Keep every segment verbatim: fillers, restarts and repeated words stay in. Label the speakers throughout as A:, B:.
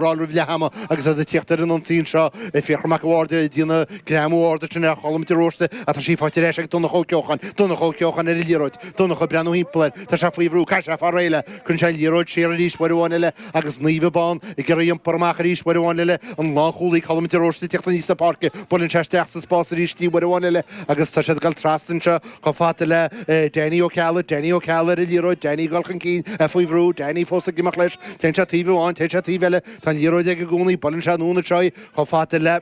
A: Roimh leath ama agus iad ag tíocht ar an ionsaí anseo Fiachra Mac an Bhaird ag déanamh greamú ard sin ar Cholm de Róiste atá sí faighte ar ais ag Donncha Ó Ceocháin Donncha Ó Ceocháin ar an liathróid Donncha ag breathnú timpeall air tá sé faoi bhrú caithfidh sé fáil réidh léi cuireann sé an liathróid siar arís uair amháin eile agus Naomh Abán ag iarraidh iompar amach arís uair amháin eile an lánchúlaí Colm de Róiste ag tíocht aníos na páirce buaileann sé isteach sa spás arís í uair amháin eile agus tá siad ag dul trasna anseo chomh fada le Danny Ó Ceallaigh Danny Ó Ceallaigh ar an liathróid Danny ag dul chun cinn faoi bhrú Danny fós ag imeacht leis téann sé taobh amháin téann sé taobh eile tá an liathróid aige i gcónaí buaileann sé anonn anseo í chomh fada le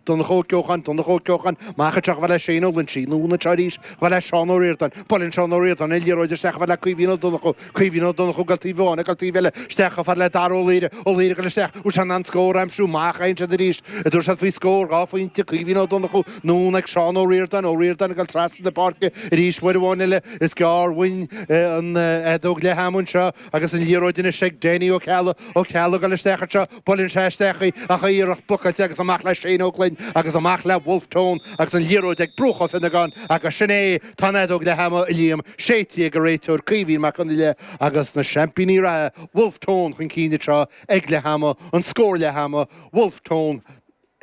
A: Donncha Ó Ceocháin Donncha Ó Ceocháin amach anseo chomh fada le Shane Ó Loinsigh anonn anseo arís chomh fada le Seán Ó Ríordáin buaileann Seán Ó Ríordáin an liathróid isteach chomh fada le Caoimhín Ó Donnchú Caoimhín Ó Donnchú ag dul taobh amháin ag dul taobh eile isteach chomh fada le Dara Ó Laoire Ó Laoire ag dul isteach bhfuil sé in ann scór a aimsiú amach a siad arís a dúirt siad faoi scór dhá phointe Caoimhín Ó Donnchú anonn ag Seán Ó Ríordáin Ó Ríordáin ag dul trasna na páirce arís uair amháin eile is gearr uainn an fheadóg leath ama anseo agus an liathróid anois ag Danny Ó Ceallaigh Ó Ceallaigh ag dul isteach anseo buaileann sé isteach í ach iarracht blocáilte agus amach le Shane Ó Gloinn agus amach le Wolfe Tone agus an liathróid ag Bruach Ó Fionnagáin agus sin é tá an fheadóg leath ama a Liam séidte ag an réiteoir Caoimhín Mac Conghail agus na seaimpíní reatha Wolfe Tone chun cinn anseo ag leath ama an scór leath ama Wolfe Tone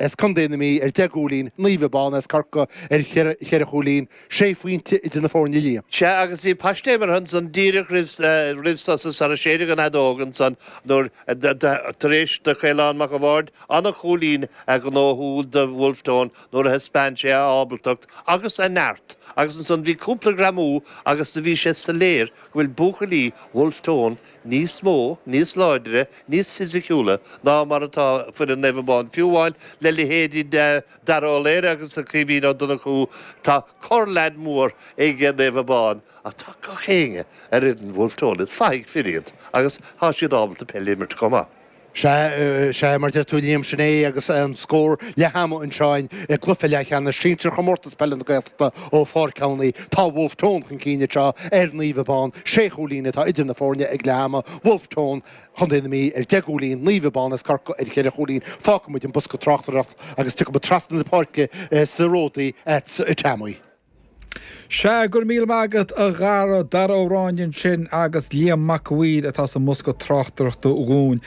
A: as Contae na Mí ar deich gcúilín Naomh Abán as Corcaigh ar cheithre chúilín sé phointe idir na foirne Liam.
B: Sea agus bhí paiste imeartha ansan díreach roimh roimh sos sara séideadh an fheadóg ansan nuair tar éis do Chaolán Mac an Bhaird an-chúilín a ghnóthú do Wolfe Tone nuair a thaispeáin sé a ábaltacht agus a neart agus ansan bhí cúpla greamú agus do bhí sé soiléir go bhfuil buachaillí Wolfe Tone níos mó, níos láidre, níos fisiciúla ná mar atá foireann Naomh Abán fiú amháin le leithéidí Dara Ó Laoire agus Caoimhín Ó Donnchú tá corrleaid mór ag Naomh Abán ach tá gach éinne ar fhoireann Wolfe Tone is fathaigh fir iad agus tá siad ábalta peil a imirt chomh maith.
A: Sea, sea, mar deir tú Liam sin é agus an scór leath ama anseo i gcluiche leathcheannais sinsir chomórtas peile na Gaeltachta ó Pháirc Abhnaí. Tá Wolfe Tone chun cinn anseo ar Naomh Abán, sé chúilín atá idir na foirne ag leath ama. Wolfe Tone Chontae na Mí ar deich gcúilín, Naomh Abán as Corcaigh ar cheithre chúilín. Fágfaidh muid an bosca tráchtaireachta agus tiocfaidh muid trasna na páirce sa Ródaí at Teamaí.
C: Sea go raibh míle maith agat a Dhara Dara Ó Ráinne ansin agus Liam Mac a' Mhaoir atá sa mbosca tráchtaireachta dhúinn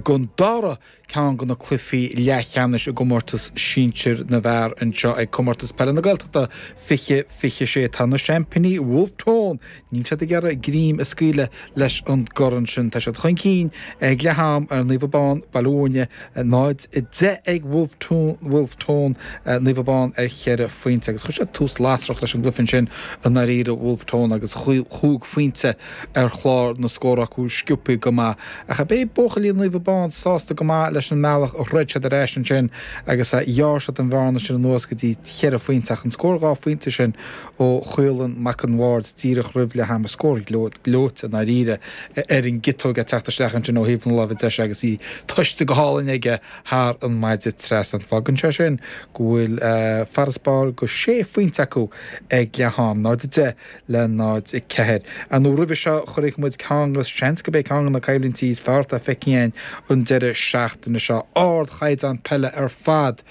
C: don dara ceann de na cluichí leathcheannais i gcomórtas sinsir na bhfear anseo ag Comórtas Peile na Gaeltachta fiche fiche sé. Tá na seaimpíní Wolfe Tone, níl siad ag iarraidh greim a scaoileadh leis an gcorn sin. Tá siad chun cinn ag leath am ar Naomh Abán, Baile Bhúirne, náid a deich ag Wolfe Tone, Wolfe Tone, Naomh Abán ar cheithre phointe agus chuir siad tús lasrach leis an gcluiche ansin i ndáiríre Wolfe Tone agus chúig phointe ar chlár na scór acu sciobtha go maith. Ach beidh buachaillí Naomh Abán sásta go maith leis an mbealach a throid siad ar ais ansin agus a ghearr siad an bhearna sin anuas go dtí cheithre phointe ach an scór dhá phointe sin ó Chaolán Mac an Bhaird díreach roimh leath ama scór gleoite i ndáiríre ar an gciotóg ag teacht isteach ansin ó thaobh na láimhe deise agus í tomhaiste go hálainn aige thar an maide trasna. Fágann sé sin go bhfuil farasbarr go sé phointe acu ag leath am, náid a deich le náid a ceathair. Ar ndóigh roimhe seo chonaic muid ceann agus seans gurb é ceann de na coimhlintí is fearr atá feicthe againn an deireadh seachtaine seo. Ardchaighdeán peile ar fad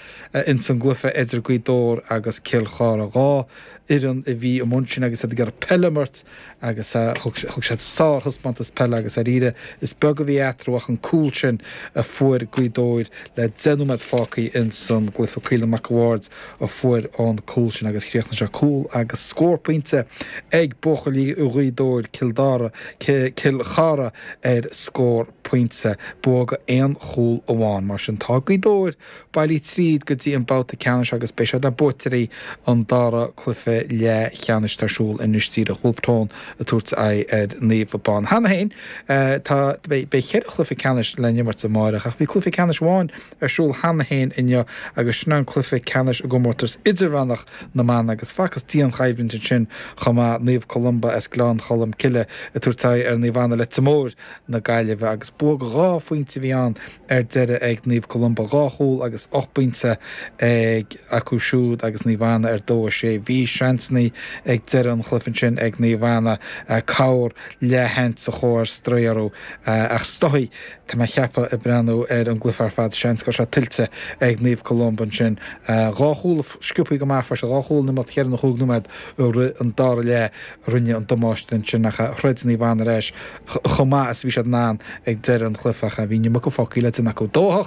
C: ins an gcluiche idir Gaoth Dobhair agus Cill Chartha. Dhá fhoireann a bhí i mbun sin agus iad ag iarraidh peil a imirt agus thug siad sárthaispeántas peile agus dáiríre is beag a bhí eatarthu ach an cúl sin a fuair Gaoth Dobhair le deich nóiméad fágtha ins an gcluiche. Caolan Mac a' Bhaird a fuair an cúl sin agus chríochnaigh sé cúl agus scór pointe ag buachaillí Ghaoth Dobhair Cill Dara, Cill Chartha ar scór pointe. Bua go aon chúl amháin. Mar sin tá Gaoth Dobhair bailithe tríd go dtí an babhta ceannais agus beidh siad le buaiteoirí an dara cluiche leathcheannais atá ar siúl anois díreach Wolfe Tone ag tabhairt aghaidh ar Naomh Abán. Cheana féin tá beidh ceithre chluiche ceannais le n-imirt amárach ach bhí cluiche ceannais amháin ar siúl cheana féin inniu agus sin an cluiche ceannais i gcomórtas idirmheánach na mban agus facthas dianchoimhlint ansin chomh maith Naomh Columba as Gleann Cholm Cille ag tabhairt aghaidh ar Naomh Anna Leitir Móir na Gaillimhe agus bua go dhá phointe a bhí ann ar deireadh ag Naomh Columba dhá chúl agus ocht bpointe ag acu siúd agus Naomh Anna ar dó a sé. Bhí seansanna ag deireadh an chluiche ansin ag Naomh Anna cabhair leathsheans a chuaigh ar strae orthu ach is dóigh tá mé ag ceapadh ag breathnú ar an gcluiche ar fad seans go raibh sé tuillte ag Naomh Columba ansin. Dhá chúl sciobtha go maith fuair sé dhá chúl in imeacht cheithre nó chúig nóiméad fad i rith an dara leath a rinne an damáiste ansin ach throid Naomh Anna ar ais chomh maith is a bhí siad in ann ag deireadh an chluiche ach bhí an iomarca fágtha le déanamh acu. Dó a hocht.